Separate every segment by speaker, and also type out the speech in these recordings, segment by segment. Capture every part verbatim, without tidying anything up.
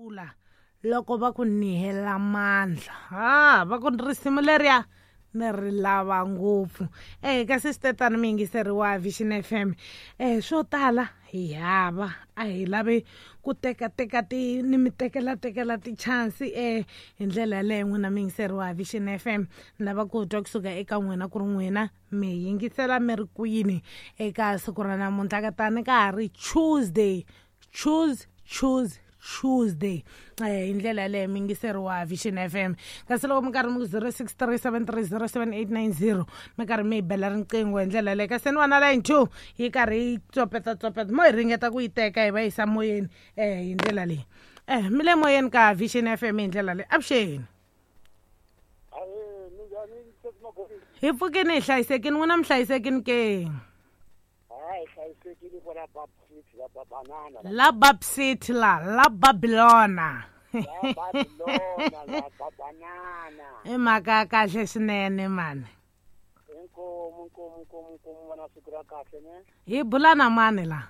Speaker 1: Tlula loko va ku ni hela mandla. Ha va ku risimu leriya ni ri lava ngopfu. Eh kasi swi mi yingiseri wa Vision F M. Eh swo tala hi hava a hi lavi ku teka teka ti ni mi tekela tekela ti chance eh hi ndlela yaleyo n'wina mi yingiseri wa Vision F M. Ni lava ku twa kusuka eka n'wina ku ri n'wina mi yingisela mi ri kwini eka siku ra namuntlha ka tani ka ha ri Tuesday. Choose, choose, Tuesday. Eh hi ndlela yaleyo mi yingiseri wa Vision F M. Kasi loko mi karhi mi ku zero six three seven three zero seven eight nine zero mi karhi mi hi bela riqingho hi ndlela yaleyo. Kasi ni vona line two yi karhi yi tsopeta tsopeta mo hi ringeta ku yi teka hi va yisa moyeni eh hi ndlela leyi. Eh mi le moyeni ka Vision F M hi ndlela leyi. Avuxeni. Hi pfukini hi hlayisekini n'wina mi hlayisekini ke? La Bab City la, la Babylona.
Speaker 2: La Babylona, la Babanana.
Speaker 1: I mhaka ya kahle swinene mani.
Speaker 2: Inkomu, inkomu, inkomu, inkomu vana siku ra kahle ne.
Speaker 1: Hi bula na mani la?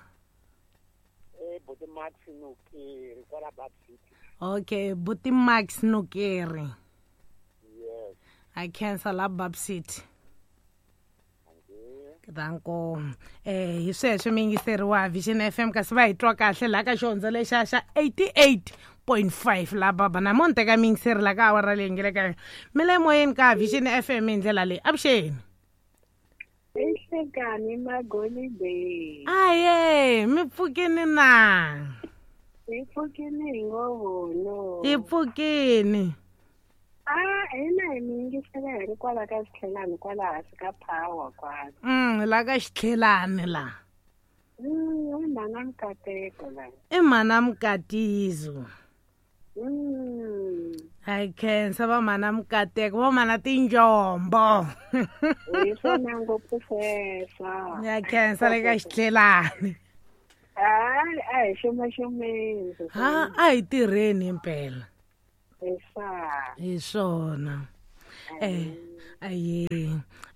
Speaker 2: Eh Buti Max Nukeri kwala Bab City.
Speaker 1: Okay, Buti Max Nukeri.
Speaker 2: Yes.
Speaker 1: I cancel la Bab City. Danko eh hi sweswo mi yingiseri wa Vision F M kasi va hi twa kahle laha ka xihondzo lexa xa eighty-eight point five la baba na mo ni teka mi yingiseri la ka awara leyi nge le ka yona. Mi le moyeni ka Vision F M hi ndlela leyi. Avuxeni.
Speaker 3: Ehlekani magolide.
Speaker 1: Aye, mi pfukini na?
Speaker 3: Hi pfukini hi ngovono.
Speaker 1: Hi pfukini.
Speaker 3: Ah, hina hi mi yingisela hi ri kwala ka xitlhelani kwala hansi ka power kwala.
Speaker 1: Mm, la ka xitlhelani la.
Speaker 3: Mm, i mhana Mukateko la.
Speaker 1: I mhana Mukatizo.
Speaker 3: Mm.
Speaker 1: Hi khensa va mhana Mukateko, va mhana Tinjombo.
Speaker 3: Hi swona ngopfu sweswo.
Speaker 1: Ya khensa le ka xitlhelani.
Speaker 3: Hayi, a hi xumaxumeni.
Speaker 1: Ha, a hi tirheni impela.
Speaker 3: Hi
Speaker 1: Hi swona. Eh, aye.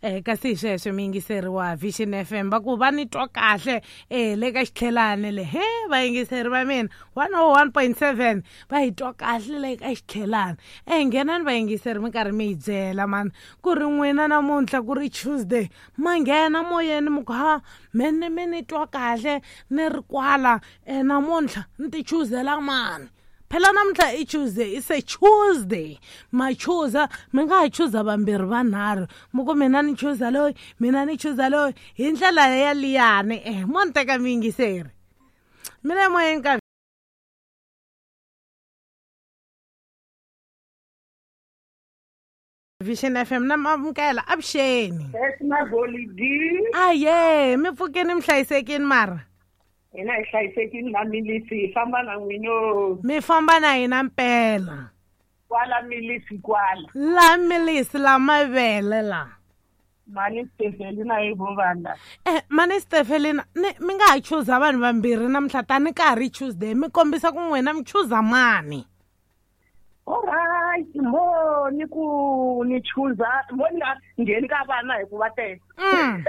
Speaker 1: Eh kasi hi sweswo mi yingiseri wa Vision F M va ku va ni twa kahle eh le ka xitlhelani le. He va yingiseri va mina one oh one point seven va hi twa kahle le ka xitlhelani. Eh nghenani va yingiseri mi karhi mi hi byela mani ku ri n'wina namuntlha ku ri Tuesday ma nghena moyeni mi ku ha mene mi ni twa kahle ni ri kwala eh namuntlha ni ti choosela mani. Phela namuntlha i Tuesday, it's a Tuesday. Ma choosa, mi nga ha choosa vambirhi vanharhu. Mi ku mina ni choosa loyi, mina ni choosa loyi. Hi ndlela ya liyani eh mo ni teka mi yingiseri. Mi le moyeni ka Vision F M na Mamukela avuxeni. Aye, mi pfukeni mi hlayisekini mara.
Speaker 3: Hina hi hlayisekini na milisi hi famba na n'wino.
Speaker 1: Mi famba na hina mpela.
Speaker 3: Kwala milisi kwala.
Speaker 1: La milisi la mavele la.
Speaker 3: Mani Stefelina hi vovanda.
Speaker 1: Eh mani Stefelina ni mi nga ha choosa vanhu vambirhi namuntlha tani ka ha ri Tuesday mi kombisa ku n'wina mi choosa mani.
Speaker 3: Alright, mo ni ku ni choosa mo ni nga ngheni ka vana hikuva tele.
Speaker 1: Mm.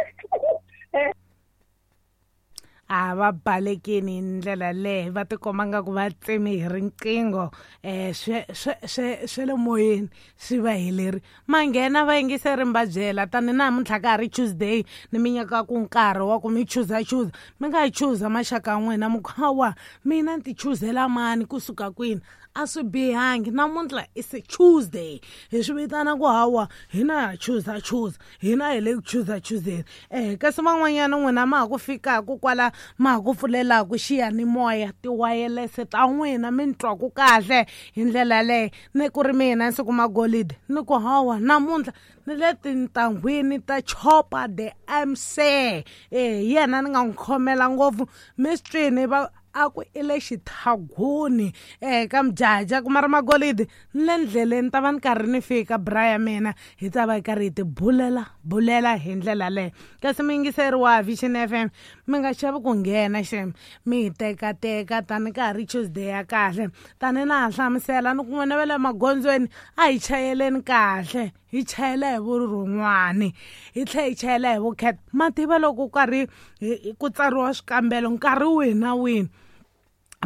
Speaker 1: A va balekini hi ndlela leyi va tikomba nga ku va tsemi hi riqingho eh swe swe swe swe le moyeni swi va heleri. Ma nghena va yingiseri mi va byela tani namuntlha ka ha ri Tuesday ni mi nyika ku nkarhi wa ku mi choosa choosa. Mi nga ha choosa maxaka ya n'wina mi ku hawa mina ni ti choosela mani kusuka kwini. A swi bihangi namuntlha is a Tuesday. Hi swi vitana ku hawa hina ha choosa choosa hina hi le ku choosa chooseni. Eh kasi van'wanyana n'wina ma ha ku fikaku kwala ma ha ku pfulelaku xiyanimoya tiwayelese ta n'wina mi ni twaku kahle hi ndlela yaleyo. Ni ku ri mina siku magolide ni ku hawa namuntlha ni le tintanghwini ta Chopa the M C. Eh hi yena ni nga n'wi khomela ngopfu mi swi twini va a ku i le xithaguni eh ka Mjaja ku mara magolide ni le ndleleni ta va ni karhi ni fika bra ya mina hi ta va hi karhi hi ti bulela bulela hi ndlela leyo. Kasi mi yingiseri wa Vision F M mi nga chavi ku nghena xem mi hi tekateka tani ka ha ri Tuesday ya kahle tani na ha hlamusela ni ku n'wina va le magondzweni a hi chayeleni kahle hi chayela hi vurhon'wani hi tlhela hi chayela hi vukheta. Ma tiva loko karhi ku tsariwa swikambelo nkarhi wihi na wihi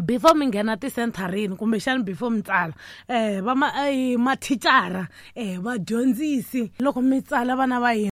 Speaker 1: Before mi nghena tisentharini, kumbexani before mi tsala, um va ma mathicara, um vadyondzisi, loko mi tsala vana va hina.